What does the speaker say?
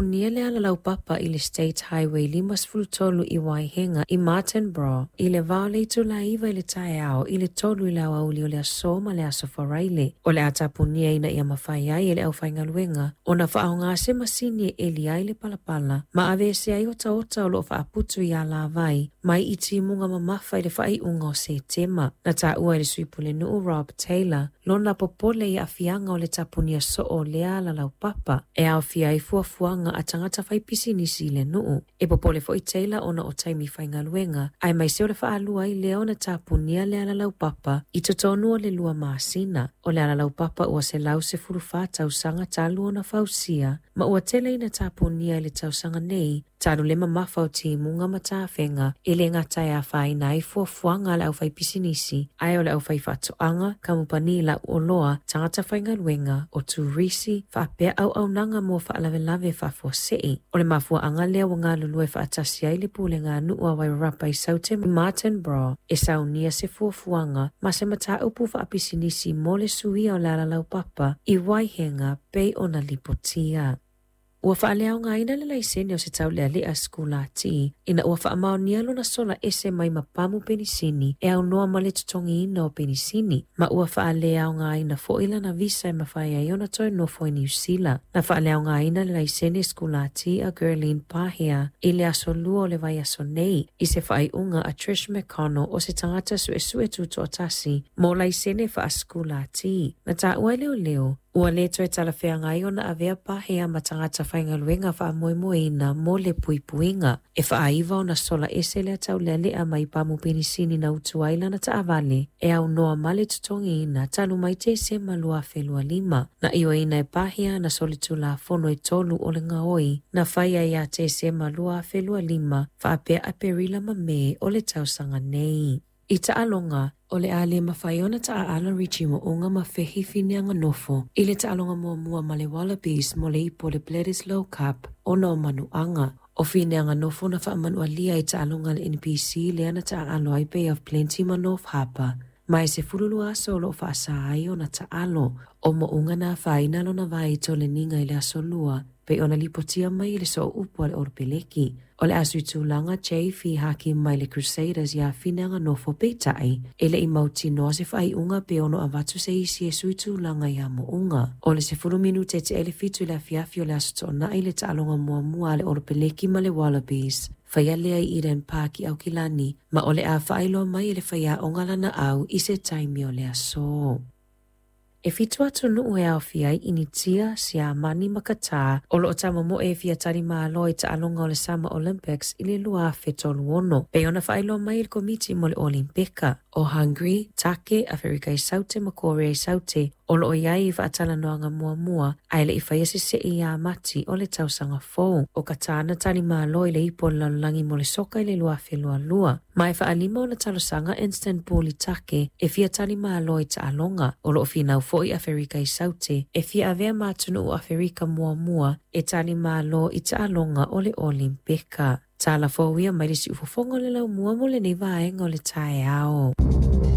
Punia le ala laupapa i le State Highway 53 i Waihenga i Martinborough i le va o le itula e 9 i le taeao i le 3 i le aoauli o le aso ma le aso Faraile. O le a tapunia ina ia mafai ai e le aufaigaluega ona faaaoga se masini e eli ai le palapala ma aveese ai otaota o lo o faaputu i alavai mai i timuga mamafa i le faaiuga o Setema. Na taua e le sui pulenuu Rob Taylor lona popole i aafiaga o le tapunia soo o lea ala laupapa e aofia ai fuafuaga a tagata faipisinisi i le nuu. E popole foi Taylor ona o taimi faigaluega aemaise o le faalua ai lea ona tapunia le ala laupapa i totonu o le 2 masina. O le ala laupapa ua 114 tausaga talu ona fausia ma ua tele ina tapunia i le tausaga nei talu le mamafa o timuga ma tafega e le gata e afaina ai fuafuaga a le aufaipisinisi ae o le aufaifaatoaga, kamupani lauoloa, tagata faigaluega, o turisi, faapea auaunaga mo faalavelave faafuasei. O le mafuaaga lea ua galulue faatasi ai le pulega a nuu a Wairarapa i Saute Martinborough e saunia se fuafuaga ma se mataupu faapisinisi mo le suia o le ala laupapa i Waihenga pei ona lipotia. Ua faaleaogaina le laisene o se taulealea sikulati ina ua faamaonia lona sola ese mai ma pamu penisini e aunoa ma le totogiina o penisini, ma ua faaleaogaina foi lana visa e mafai ai ona toe nofo i Niu Sila. Na faaleaogaina le laisene sikulati a Gerline Pahea i le aso 2 o le vaiaso nei i se faaiuga a Trish McConnell o se tagata suesue tutoatasi mo laisene faasikulati. Na taua e leoleo ua le toe talafeagai ona avea Pahea ma tagata faigaluega faamoemoeina mo le puipuiga. E faaiva ona sola ese lea taulealea mai pamu penisini na utu ai lana taavale e aunoa ma le totogiina talu mai Tesema 2025. Na ioeina e Pahea na solitulafono e 3 o le gaoi na faia ia Tesema 2025 faapea Aperila ma Me o le tausaga nei. I taaloga, o le a le mafai ona taaalo Richie Mo'unga ma Fehi Fineanganofo i le taaloga muamua ma le Wallabies mo le ipu o le Bledisloe Cup ona o manuaga. O Fineanganofo na faamanualia i taaloga a le NPC lea na taaalo ai Bay of Plenty ma North Harbour. Ma e 12 aso o loo faasa ai ona taalo. O Mo'unga na afaina lona vai toleniga i le aso 2 pei ona lipotia mai i le sooupu a le Oropeleki. O le aso i tulaga Jay Fihaki mai le Crusaders ia Fineanganofo peitai e le i mautinoa se faaiuga pe ono avatu se isi e sui tulaga ia Mo'unga. O le 10 minute te ele 7 i le afiafi o le aso Toonai le taaloga muamua a le Oropeleki ma le Wallabies. Faia lea i Eden Park i Aukilani ma o le a faailoa mai e le faiaoga lana au i se taimi o le aso. E 7 atunuu e aofia ai Initia, Siamani ma Qatar o loo tamomoe e fia tali malo i taaloga o le Summer Olympics i le 2036. Pei ona faailoa mai e le komiti mo le Olimpika. O Hungary, Take, Aferika i Saute ma Korea i Saute o loo iai i faatalanoaga muamua ae le i faia se sei ia Mati o le tausaga fou. O Qatar na tali malo i le ipu o le lalolagi mo le soka i le 2022. Ma e faalima ona talosaga Istanbul i Take e fia tali malo i taaloga. O loo finau foi Aferika i Saute e fia avea ma atunuu Aferika muamua e tali malo i taaloga o le Olimpika. Tala fou ia mai le siufofoga o le laumua mo lenei vaega o le taeao.